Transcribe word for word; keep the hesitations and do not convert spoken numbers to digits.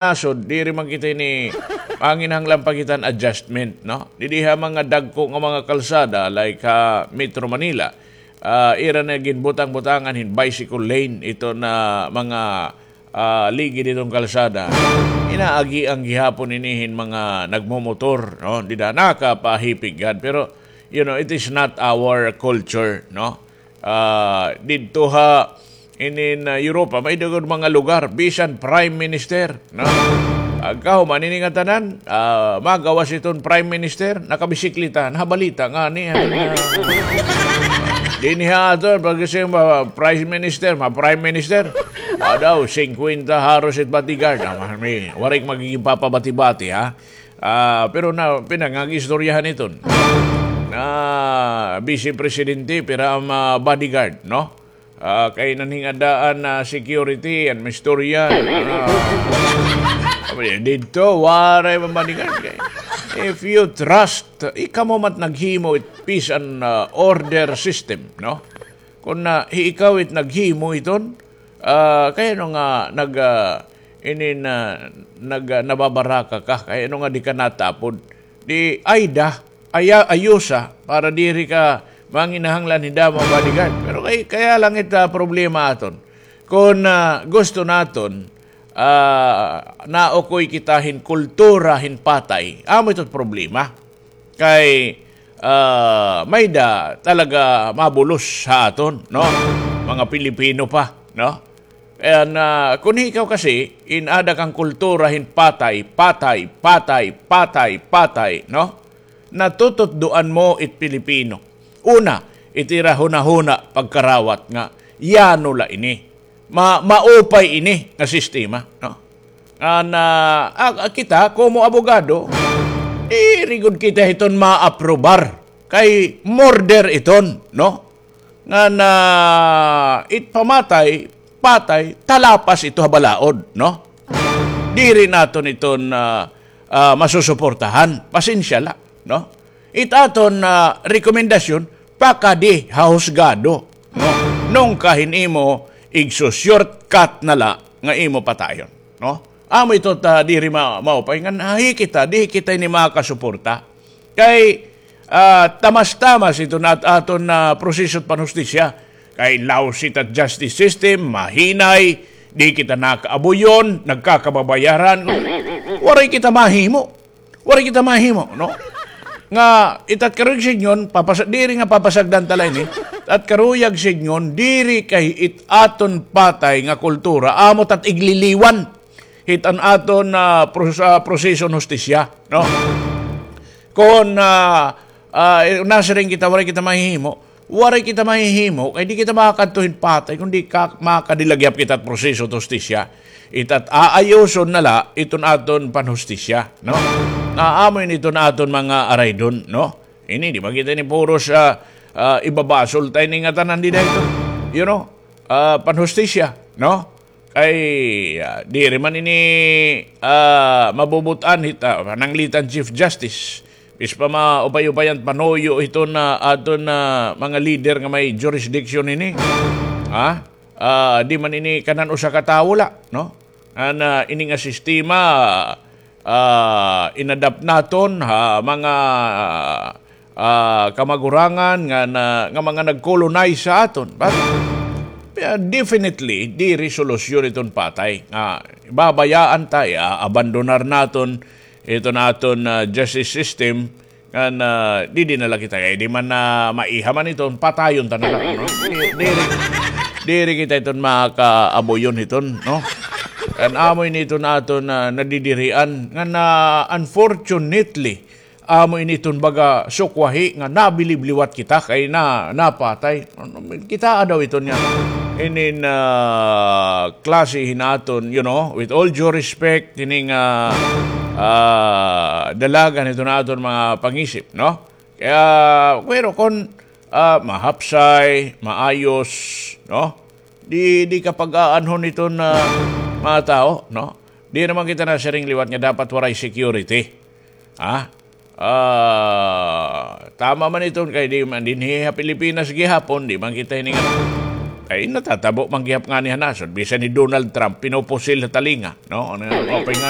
nasod, diri man kita ini manginahanglan pa kita hin adjustment, no? Didi ha mga dagko nga mga kalsada, like ha Metro Manila, ah, ira na ginbutang-butangan hin bicycle lane ito na mga, ah, ligid iton kalsada. Inaagian gihapon ini hin mga nagmomotor, no? Dida nakapahipig gad, pero, you know, it is not our culture, no? Ah, didto ha inin, ah, Europa, may-ada gud mga lugar, bisan Prime Minister, no? Pagkahuman ini nga tanan, ah, magawas iton Prime Minister, nakabisikleta, nahabalita ngani, ah, dinhi ha aton, pag-isip mo, Prime Minister, ma-Prime Minister, ah, daw, singkwenta haros it bodyguard, ah, may, waray magiging papabati-bati, ha? Ah, pero na, pinangagistoryahan iton. Na, Vice Presidente, pira ang, ah, bodyguard, no? Ah, kay nanhingadaan na security, an mistorya. Ah, sabi niya, didto, waray man bodyguard kay. If you trust, ikaw mo mat naghimo it peace and, ah, order system, no? Kung na, hi-, ikaw it naghimo iton, ah, kay ano nga nag, ah, inin, ah, nag, ah, nababaraka ka, kay ano nga di ka natapod? Di, ay da, aya-, ayusa para diri ka manginahanglan hin damo nga bodyguard. Pero kay, kaya lang ita problema aton. Kon, ah, gusto naton, ah, naukoy kita hin kultura hin patay, amo ito problema. Kay, ah, may-ada talaga mabulos ha aton, no? Mga Pilipino pa, no? Kay, ah, kon ikaw kasi, in-ada ka hin kultura hin patay, patay, patay, patay, patay, no? Natututdoan mo it Pilipino. Una, it ira hunahuna pagkarawat nga, yano la ini. Ma-, maupay ini nga sistema, no? Ngan, ah, ah, kita, komo abogado, diri gud kita iton maaprobar. Kay murder iton, no? Ngan, ah, it pamatay, patay, talapas ito ha balaod, no? Diri naton iton, ah, ah, masusuportahan. Pasensya la, no? It aton, ah, rekomendasyon, pakadi ha husgado, no? Nungka hin imo igsu-shortcut na la nga imo patayon, no? Amo ito ta diri ma-, maupay ngan, ah, hi kita, di kita ini makasuporta. Kay, ah, tamas-tamas ito na at-, aton na proseso it panhustisya. Kay lousy it at justice system, mahinay, di kita nakaabuyon, nagkakababayaran. Waray kita mahimo. Waray kita mahimo, no? Nga, it at karuyag sidngon, papasa-, diri nga papasagdan ta la ini. At karuyag sidngon, diri kay it aton patay nga kultura, amo it at igliliwan. Hit an aton, ah, pros-, ah, proseso hin hustisya, no? Kon, ah, ah, nasiring kita, waray kita mahihimo, waray kita mahihimo, kay di kita makakadto hin patay, kundi ka-, makadilagyap kita hit proseso hit hustisya. It at aayuson na la iton aton panhustisya, no? Nga amo ini iton aton mga araydon, no? Ini, di ba kita ini puros, ah, ah, ibabasol ta ini ngatanan dida iton, you know, ah, panhustisya, no? Kay, ah, diri man ini, ah, mabubut-an hit, ah, pananglitan Chief Justice. Bis pa maupay-upay an panuyo hiton, ah, aton, ah, mga lider nga may jurisdiction ini. Ha? Ah, di man ini kanan usa ka tawo la, no? An, ah, ini nga sistema, ah, inadapt naton ha mga, ah, kamagurangan nga na, nga mga nag-colonize sa aton. But, yeah, definitely, diri solusyon iton patay. Nga, babayaan ta, abandonar naton iton aton, ah, justice system, ngan, ah, didi na la kita, kay di man na maiha man iton, patayon ta na la, no? Di-, diri, diri kita iton makaabuyon hiton, no? Ngan amo ini iton aton, ah, nadidirian, ngan, ah, unfortunately, amo ini iton baga sukwahi nga nabilib liwat kita kay na, napatay. Kitaa daw iton nga inin, ah, klase hin aton, you know, with all due respect, ini nga, ah, dalagan hiton aton mga pangisip, no? Kaya, pero kon, ah, mahapsay, maayos, no? Di, di ka pag-aanhon iton, ah, mga tawo, no? Di naman kita nasiring liwat nga dapat waray security. Ha? Ah, tama man iton kay di man dinhi ha Pilipinas gihapon, di man kita hiningan. Ay, natatabo man gihap ngani ha nasod. Bisan hi Donald Trump, pinupusil ha talinga, no? Ano, okay ngani.